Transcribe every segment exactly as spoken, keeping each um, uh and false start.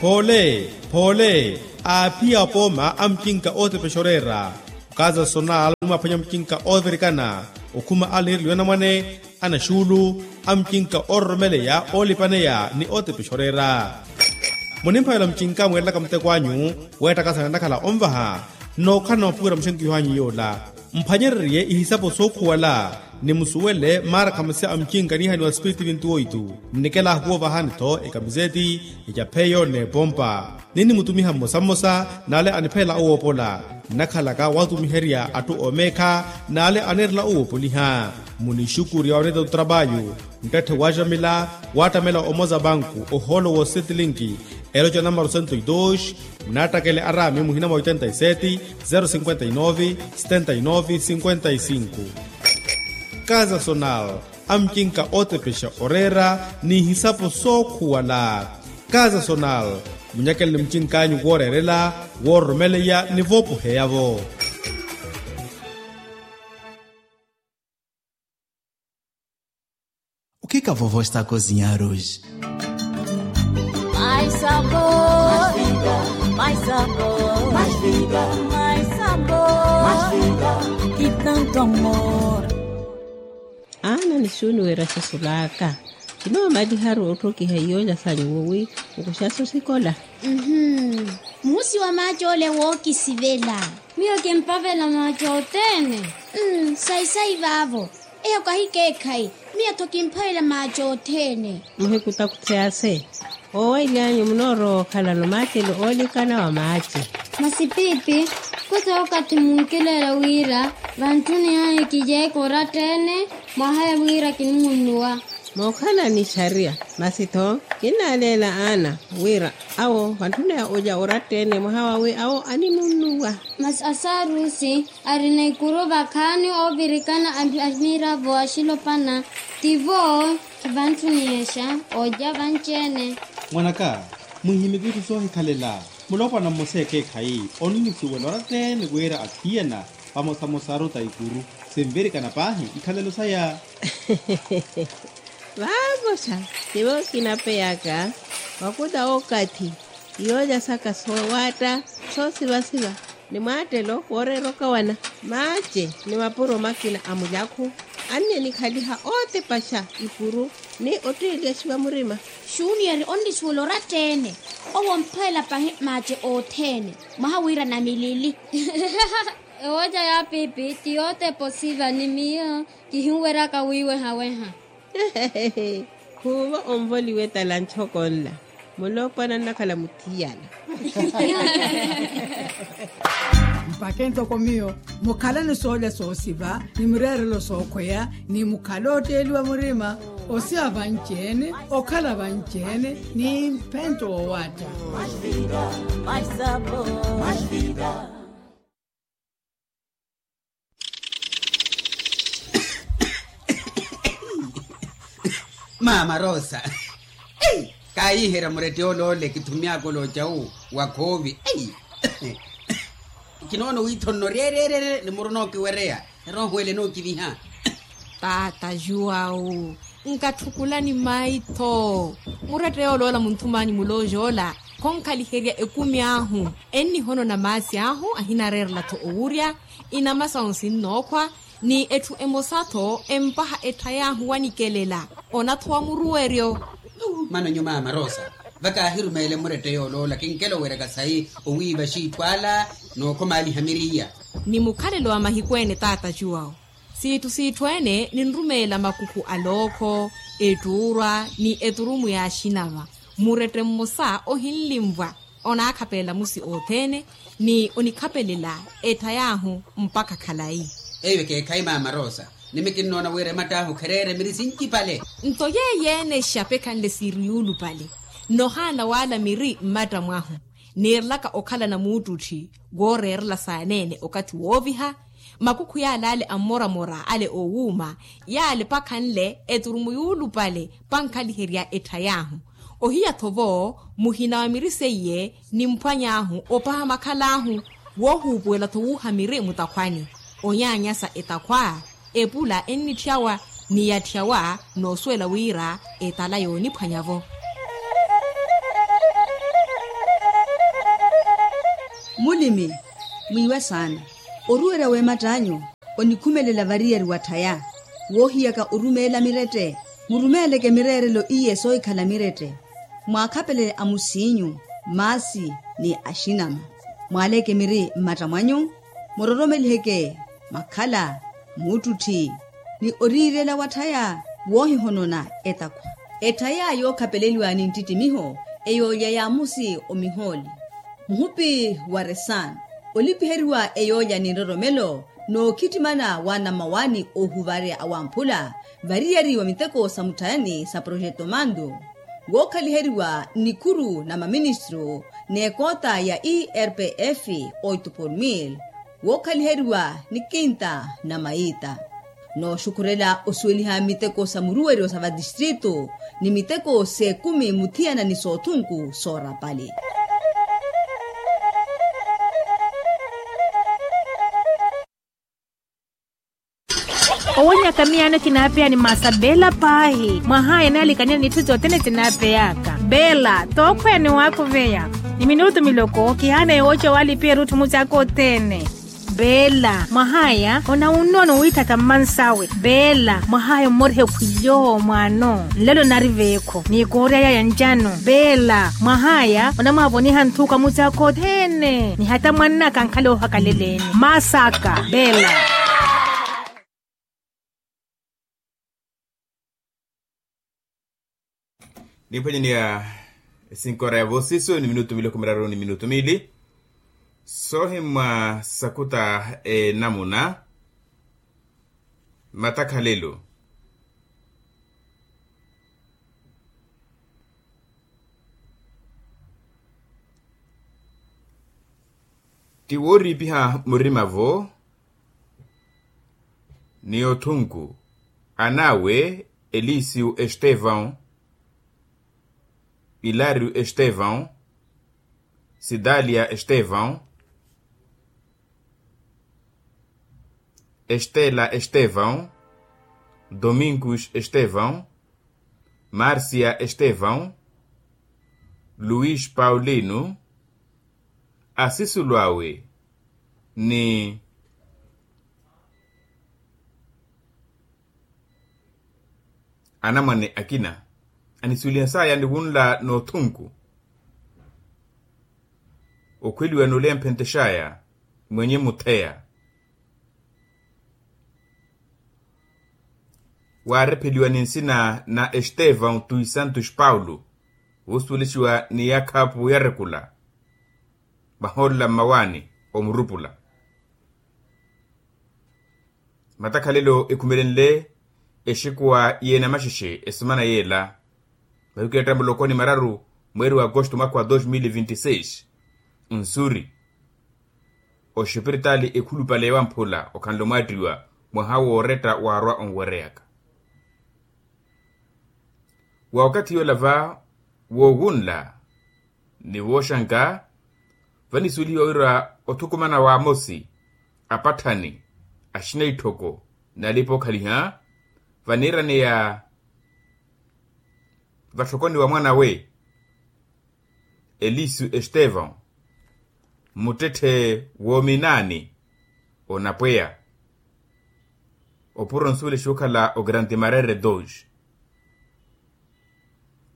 Phoole, phoole, aaphiya apooma a mucinka ootepexa oreera. Okaza sonal mwaphwanya mucinka oovirikana, okhuma aliniriliwa anamwane, anaxuulu, a mucinka oororomeleya oolipaneya ni ootepexa oreera. Munimphavela mucinka mweerelaka muteko anyu, weettakasana nnakhala onvaha. Nnookhalana mwapuwela muxenkiho anyu yoola, mphwanyereriye ihisapo sookhuwala, ni musuwele maarakhamasi a mucinka niihaniwa spiritu vintu oitu. Nnikela ahukuwa ovahani-tho ekamiseti, ecapheyo n'epompa. Ninnimutumiha mmosa mmosa n'ale aniphelela owoopola. Nnakhalaka watumiherya atthu oomeekha n'ale aneerela owoopoliha. Munixukurya oneeta otrapayu, nttette waaxamila, waattamela omoza banku ohoolo woosetlinki, eloca namaro sento e dos. Munaattakele araami muhina mwa oitenta e seti, zero cinquenta e nove, setenta e nove cinquenta e cinco. Kaza sonal, a mucinka ootepexa oreera, n'ihisapo sookhuwala. Kaza sonal, munyakele ni mucink'anyu wooreerela, woororomeleya ni voopoheya-vo. O que que a vovó está a cozinhar hoje? Mais sabor, mais vida, mais sabor, mais vida, mais sabor, mais vida, que tanto amor. Aana nixuuni wira xasulaka. Kinoomaliharu otthokiha iyoola sanyu wowi, nkuxaso sikola. Mhusi wa maaci ole wookisivela. Miyo kimpavela maaci othene. Sayi-sayi vaavo. Eyo kahikeekhayi. Miyo-tho kimpavela maaci othene. Muhikutakuthe ase, oowaily'anyu munoorowa okhalano maacelo oolikana wa maaci. Masi piipi, kutha okathi munkileela wira vantthuni ahi kijeeka oratta-ene, mwahaya wira kinimunnuwa. Mookhala ni xariya, masi-tho kinnaaleela aana wira awo vantthuni awe olya oratta-ene mwaha wawi awo animunnuwa. Masi asaarusi, arina ikuru vakhaani oovirikana a miravo axilopana, tivo vantthuniyexa olya vanci-ene. Mwanaka, muhihimiki itthu soohikhalela. Mulopwana mmosa ekeekhayi onnusuwela oratta-ene wira athiyana vamosamosaru ta ikuru sinvirikana paahi ikhalelo saya. Vaamosa, tivo kinapeyaka, vakula okathi, iyoolya saka soowaatta soosivasiva, ni mwaattelo wooreera okawana. Maace ni mapuro makina a mulakhu, anniye nikhaliha ootepaxa ikuru ni otteeliyaxiwa murima. Xuniyeri onnisuwela oratta-ene, owo omphweela pahi maace othene mwaha wira namilili. Ewoca ya piipi ti yootepa osiva ni miyo kihinweryaka wiiwehaweha. Khuuvo onvoliwe tala nchoko nla, mulopwana nnakhala muthiyana. Mpakhe ntoko miyo mukhalani soolya soosiva ni mireerelo sookhweya, ni mukhale otteeliwa murima, osiva vanci-ene, okhala vanci-ene ni mphento woowaatta. Maama rosa, kaayiherya murette ole ole kithumyaka olooca wu wa khoovi. Kinoona wiithonno ryereerere ni muruna okiwereya, erooho ele nookiviha. Taata juwawu, nkatthukula ni mayi-tho. Murette yoola ola munthum'anyu mulooja ola khonkhaliherya ekumi ahu, ennihonona maasi ahu ahinareerela-tho owurya, inama sahu sinnookhwa, ni etthu emosa-tho empaha ettha y'ahu wanikelela. Onathowa muruweryo. Mano nyu maama rosa, vakaahirumeele murette yoola ola kinkela oweryaka sayi owiiva xiitthu ala, nookhomaaliha miriya. Ni mukhalelo wa mahiku ene taata juwawu, siitthu siitthu ene ninrumeela makukhu a lookho, ettuurwa ni eturumu ya axinava. Murette mmosa ohinlinvwa, onaakhapelela musi othene, ni onikhapelela ettha y'ahu mpakha khalayi. Eyo ekeekhayi maama rosa, nimi kinnoona wira ematt'ahu khereere miri sincipale. Nto yeeyo-ene exapekhanle siiri yuulupale, nnohaana waala miri mmatta mwahu. Niirelaka okhalana muuttutthi wooreerela saaneene okathi wooviha, makukhu yaale ale ammoramora ale oowuuma, yaale pakhanle eturumu yuulupale, pankhaliherya ettha y'ahu. Ohiya-tho vo muhina wa miri seiye nimphwany'ahu opaha makhal'ahu, woohuupuwela-tho wuuha miri mutakhwani, onyaanyasa etakhwa, epula ennitthyawa, ni yatthyawa noosuwela wira etala yooniphwanya-vo. Mulimi, mwiiwe saana. Oruwerya w'ematt'anyu, onikhumelela variyari watthaya. Woohiyaka orumeela mirette, murumeeleke mireerelo iye soohikhala mirette. Mwaakhapelele amusiinyu, maasi, ni axinama. Mwaaleke miri mmatta mwanyu, muroromeliheke makhala, muuttutthi, ni oriirela watthaya woohihonona etakhwa. Etthaya yookhapeleliwa ni nttittimiho, eyoolya yaamusi omihooli. Muhupi wa resan, olipiheriwa eyoolya ni nroromelo, nookhittimana wa nammawaani oohuvarya awamphula, variyari wa miteko sa mutthayani sa projeto mandu, wookhaliheriwa nnikhuru na maministru n'ekoota ya erpf, oito por mil, wookhaliheriwa ni kinta na mayiita. Nooxukhurela osuweliha miteko sa muruweryo sa vatistritu, ni miteko s'ekumi muthiyana ni soothunku soorapali. Owonyaka miyaano kinaapeya ni maasa beela paahi, mwahaya naalikanyani n'itthu sothene sinaapeyaka. Beela, tookhweya ni waakuveya, ni minutu miloko kihaana yooca waalipira etthu mucaaka othene. Beela, mwahaya onawunnono wiithatha mmansawe. Beela, mwahaya ommoriha ekhwilyo mwaano nlelo nari veekho n'ikoorya yaya ncano. Beela, mwahaya onamwaavoniha nthuka mucaaka othene. Ni hata mwannaka ankhala oohakaleleni maasaka beela. Niphwanyeni ya esinkora ya voosiso ni minutu miloko miraru ni minutu miili. Soohimmwa sakuta enamuna matakhalelo. Ti wooriipiha murima-vo ni othunku an'awe, elisiu estevão, ilario estevão, sidalia estevão, estela estevão, domingos estevão, márcia estevão, luís paulino, asisulu awe ni anamwane akina anisuweliha saya ni wunla n'othunku okhweliwa n'ulemphentexaya mwenye mutheya. Waarepheliwa ni nsina na estevão tui santos paulo, wuusuwelixiwa ni yakhaapu yarekula vahoolela mmawaani omurupula. Matakhalelo ekhumelenle exikuwa y'enamaxexe esimana yeela mahiku eetta muloko ni mararu mweeri wa agosto mwaka wa dos mil vinti seis. Nsuri oxipiritaali ekhulupale wamphula okhanle omwaattiwa mwaha wooretta waarwa onwereyaka. Wa okathi yoola va woowunla ni wooxanka vanisuwelihiwa wira othukumana wa amosi apatthani axina itthoko n'alipa okhaliha vaniiraneya vatthokoni wa mwan'awe elisu estevão muttetthe woominaani onapweya opuro onsuwelexa okhala ogrande marere dos.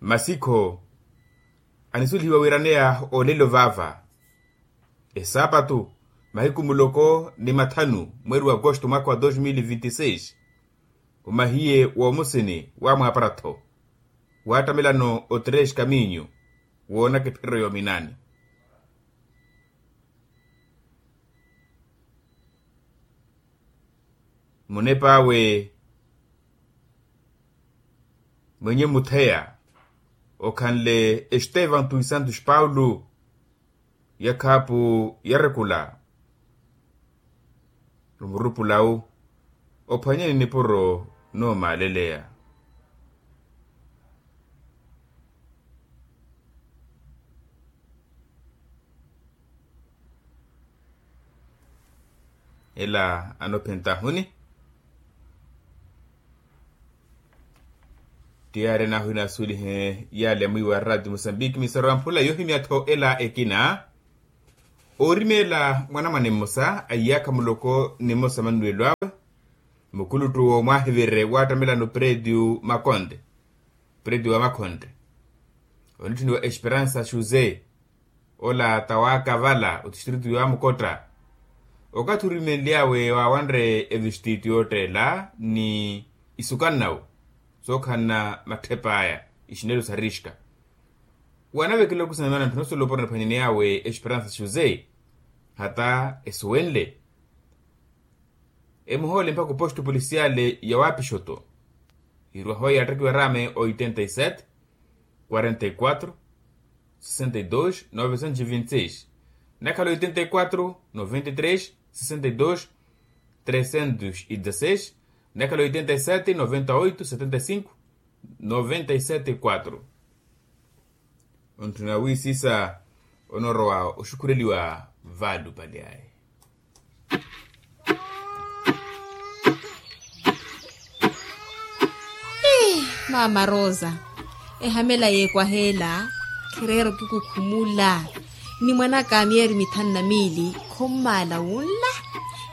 Masikho anisuwelihiwa wiiraneya olelo vaava esaapatu mahiku muloko ni mathanu mweeri wa agosto mwaka wa dos mil vinti seis. Omahiye woomusini wamwaapara-tho waattamelano otres kaminyu woonaka epherero yoominaani. Munep'awe mwenye mutheya okhanle estevan tui santos paulo. Yakhaapu yarekula omurupula wu ophwanyeni nipuro noomaaleleya. Ela anophentahuni tiyari nahu inasuwelihe yale mwiiwa rati musambiki misoro ya mphula yohimya-tho ela ekina. Oorimeela mwanamwane mmosa a iyaakha muloko ni mmosa mannuwelo awe. Mukuluttu w'omwaahivire waattamelana operetio makonte, operetio wa makhonte, onitthuniwa esperansa xuze. Ola tawaakavala otistritu yaamukotta. Okathi orimenly'awe waawanre evistiti yootteela ni isukannawo sookhanna matthepa aya, ixinelo sa riska. Wanavekela okusana maana ntthuna osoloporana ephwanyani yawe esperansa xuze hata esuwenle. Emuhoole mpakha oposto polisiyale ya wapixoto. Hirwaho yattekiwa rame oitenta y sete, quarenta y quatro, sessenta y dos novecentos y vinte y seis, nakhala oitenta y quatro noventa y três sessenta y dos trecentos y dezasseis, nakhala oitenta y sete noventa y oito setenta y cinco noventa y sete quatro. Ontthuna wiisisa onorowa oxukhureliwa vaalupali aye. Ii, maama rosa, ehamela yeekwaheela khireera okikukhumula. Ni mwan'aka a miyeri mithanu na miili khommaala wunla.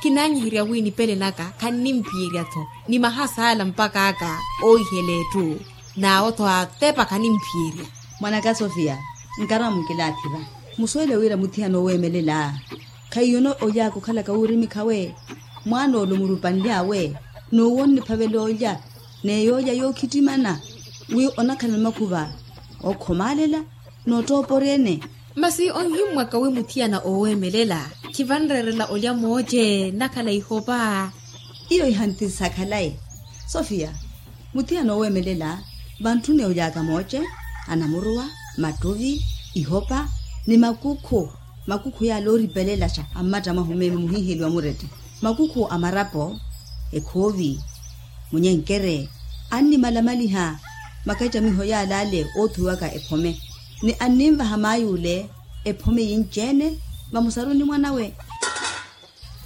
Kinaanyiherya wi nipele naka khannimpiyerya-tho, ni mahasaala mpak'aka oohihela etthu. N'awo-tho atepa khanimphiyerya. Mwan'aka sofia, nkarwa mukilaathiva. Musuwele wira muthiyana oweemelela khaiyo oly'aka okhalaka wuurimikhawe. Mwaan'ole omurupanly'awe n'uwo onniphavela olya, n'eyoolya yookhittimana wi onakhala makhuva ookhomaalela n'ottooporya-ene. Masi onhimmwaka wi muthiyana ooweemelela khivanreerela olya mooce nnakhala ihopa. Iyo ihantisisa khalayi. Sofia, muthiyana ooweemelela vantthuni oly'aka mooce, anamuruwa, mattuvi, ihopa, ni makukhu. Makukhu yaala ooripelelaxa a mmatta mwahu meeme muhiiheliwa murette, makukhu a marapo, ekhoovi, munyenkere, annimalamaliha makacamiho yaala ale oothuwiwaka ephome, ni anninvaha maay'ule ephome yinci-ene vamusaruni mwan'awe.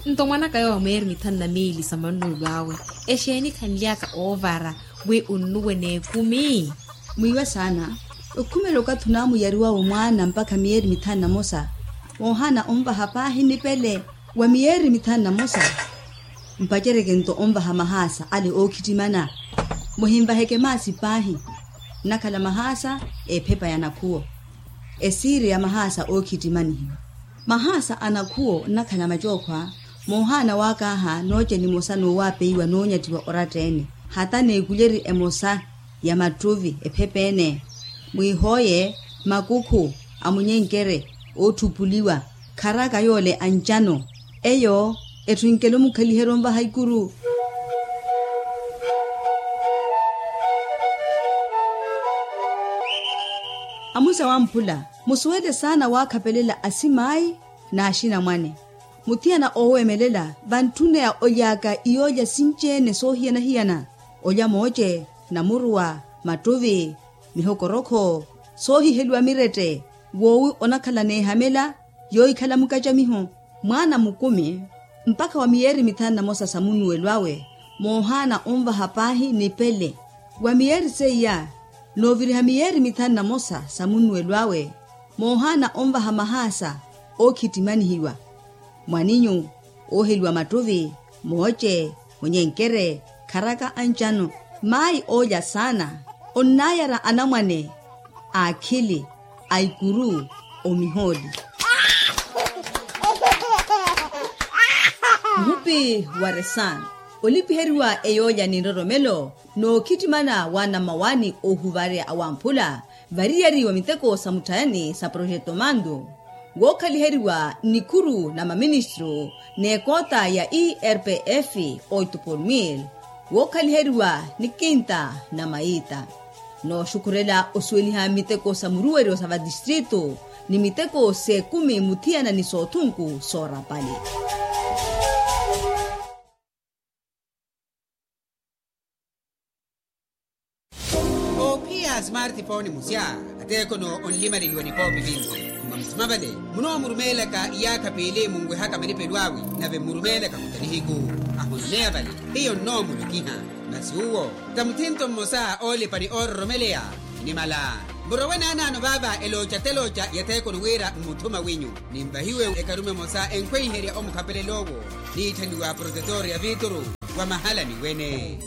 Nto mwan'aka yowa mweeri mithanu na miili sa mannuwelo awe, exeeni khanly'aka oovara wi onnuwe n'ekumi? Mwiiwe saana, okhumela okathi onaamuyariwawe mwaana mpakha miyeeri mithanu na mosa, woohaana onvaha paahi nipele wa miyeeri mithanu na mosa. Mpaceryeke nto onvaha mahaasa ale ookhittimana. Muhinvaheke maasi paahi, nnakhala mahaasa ephepa ya nakhuwo, esiiri ya mahaasa ookhittimanihiwa. Mahaasa a nakhuwo nnakhala macookhwa, moohaana waakaaha nooce nimosa noowaapeiwa noonyattiwa oratta-ene, hata n'ekulyeri emosa ya mattuvi ephepa-ene. Mwiihooye makukhu a munyenkere ootthupuliwa, kharaka yoole ancano. Eyo etthu enkela omukhaliherya onvaha ikuru. Amusa wamphula, musuwele saana waakhapelela asimaayi n'axinamwane. Muthiyana ooweemelela vantthuneya oly'aka iyoolya sinci-ene soohiyana-hiyana, olya mooce, namuruwa, mattuvi, mihokorokho, soohiheliwa mirette, woowi onakhala n'ehamela yoohikhala mukacamiho. Mwaana mukumi mpakha wa miyeeri mithanu na mosa sa munnuwelo awe, moohaana onvaha paahi nipele. Wa miyeeri seiya, nooviriha miyeeri mithanu na mosa sa munnuwelo awe, moohaana onvaha mahaasa ookhittimanihiwa, mwaninyu, ooheliwa mattuvi, mooce, onyenkere, kharaka ancano, maayi oolya saana, onnaayara anamwane a akhili, a ikuru, omihooli. Muhupi wa resan, olipiheriwa eyoolya ni nroromelo, nookhittimana wa nammawaani oohuvarya awamphula variyari wa miteko sa mutthayani sa projeto mandu, wookhaliheriwa nikhuru na maministru n'ekoota ya irpf, oito por mil, wookhaliheriwa ni kinta na mayiita. Nooxukhurela osuweliha miteko sa muruweryo sa vatistritu ni miteko s'ekumi muthiyana ni soothunku soorapali. Oophiya smartphone musya, ateekhono onlimaleliwa nipoopi vinci. Mwa musima vale munoomurumeelaka iyaakha piili munwehaka malipelo awe, nave mmurumeelaka khuta nihiku. Ahoneya vale hiyo nnoomulokiha. Masi uwo ta muthinto mmosa oolipa ni oororomeleya. Nimala Murowe naanaano vaava elooca telooca ya theekono wira mmuthuma wenyu. Ninvahiwe ekarume emosa enkhweiherya omukhapelel'owo. Niitthaniwa protetor ya viituru wa mahalani wene.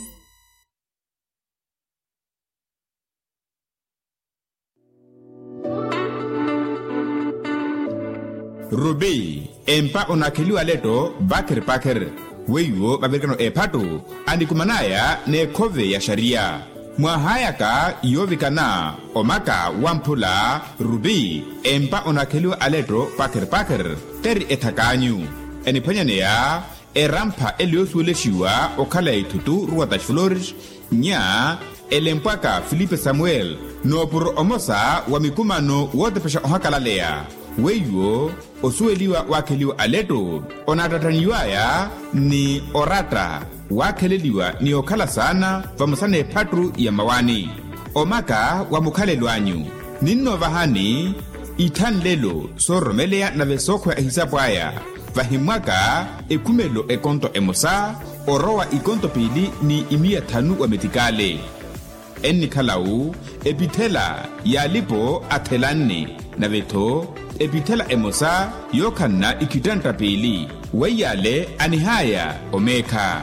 Rupi empa onaakheliwa aletto pakher pakher. Weiwo vavirikano ephattu anikuman'aya n'ekhove ya xariya. Mwaahayaka yoovikana omaka wamphula rupi empa onaakheliwa aletto pakher pakher. Teri ethak'anyu eniphwanyaneya erampha ele yoosuwelexiwa okhala ya ithutu ruwa ta xiflores. Nya elempwaka filipe samuel noopuro omosa wa mikumano wootepexa ohakalaleya. Weiwo osuweliwa waakheliwa aletto onaattattaniw'aya ni oratta waakheleliwa ni okhala saana vamosa n'ephattu ya mmawaani. Omaka wa mukhalelo anyu ninnoovahani ithanlelo soororomeleya nave sookhweya ehisapu aya. Vahimmwaka ekhumelo ekonto emosa orowa ikonto piili ni imiya thanu wa metikale. Ennikhala-wu epithela y'alipo athelanne nave-tho epithela emosa yookhanna ikhittantta piili. Weiy'ale anihaya omeekha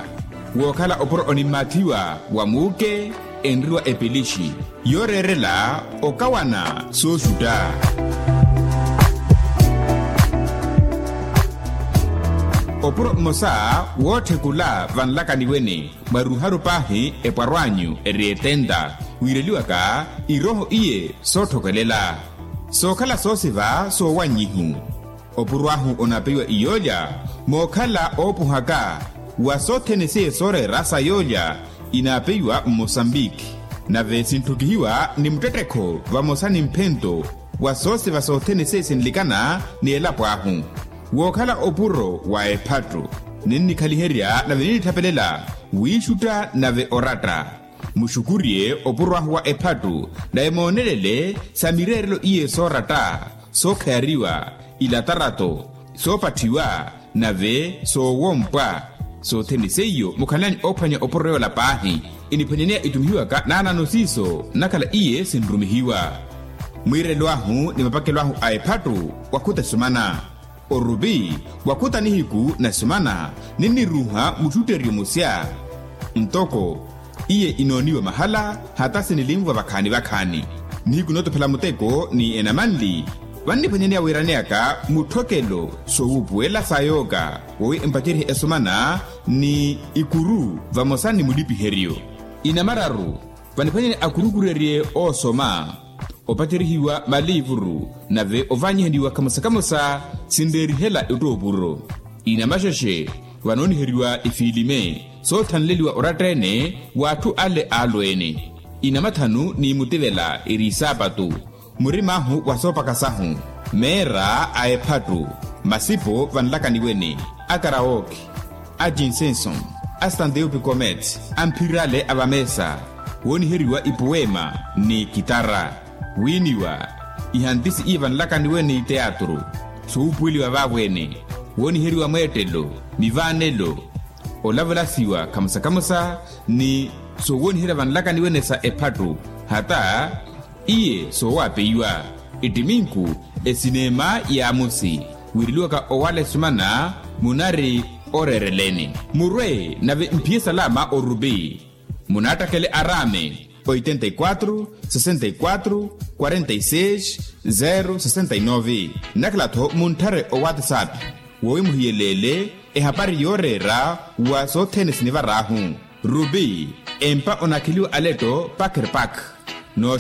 wookhala opuro onimmaathiwa wa muuke enriwa epelixi yooreerela okawana sooxutta. Opuro mmosa wootthekula vanlakaniweni mwaruharu paahi epwarw'anyu eri etenta wiireliwaka irooho iye sootthokelela sookhala soosiva soowannyihu. Opuro ahu onaapeiwa iyoolya mookhala oopuhaka wa sothene seiye sooreera sa yoolya inaapeiwa mmosambiki. Nave sintthukihiwa ni muttettekho vamosa ni mphento wa soosiva sothene seiye sinlikana ni elapo ahu. Wookhala opuro wa ephattu ninnikhaliherya nave ninnithapelela wiixutta nave oratta. Muxukurye opuro ahu wa ephattu nave moonelele sa mireerelo iye sooratta sookhayariwa ilatarato soopatthiwa nave soowompwa. Sothene seiyo mukhalani oophwanya opuro yoola paahi iniphwanyaneya itumihiwaka naanaano siiso nnakhala iye sinrumihiwa. Mwiirelo ahu ni mapakelo ahu a ephattu wakhuta esumana orupi wakhuta nihiku na esumana ninniruuha muttutteryo musya. Ntoko iye inooniwa mahala hata sinilinvwa vakhaani vakhaani nihiku nootophela muteko ni enamanli. Vanniphwanyaneya wiiraneyaka mutthokelo soowuupuwela sa yooka wowi empaceryihe esumana ni ikuru vamosa ni mulipiheryo. Inamararu vaniphwanyani akurukurerye oosoma opacerihiwa maliivuru nave ovaanyihaniwa kamosa kamosa sinreerihela ettoopuro. Inamaxexe vanooniheriwa ifiilime soothanleliwa oratta-ene w'atthu ale aalweene. Inamathanu ni mutivela eri isaapatu murim'ahu wa soopaka sahu meera a ephattu masipo vanlakaniweni a karawooki a jinsenson a stanteyo pikomet a mphir'ale a vameesa wooniheriwa ipuweema ni kitara. Wiiniwa ihantisi iye vanlakaniweni teatru soowuupuweliwa vaavo-ene wooniheriwa mweettelo mivaanelo olavelasiwa kamosa-kamosa ni soowooniherya vanlakaniweni sa ephattu hata iye soowapeiwa. Ettiminku esineema y'amusi wiireliwaka owala esumana munari oreereleni murwe nave mphiye salama orupi munaattakele araame oitenta e quatro sesenta e quatro quarenta e seis zero sesenta e nove. Nnakhala-tho muntthare owatsapp wowi muhiyeleele ehapari yooreera wa sothene sinivar'ahu. Rupi empa onakheliwa aletto pakher pakh.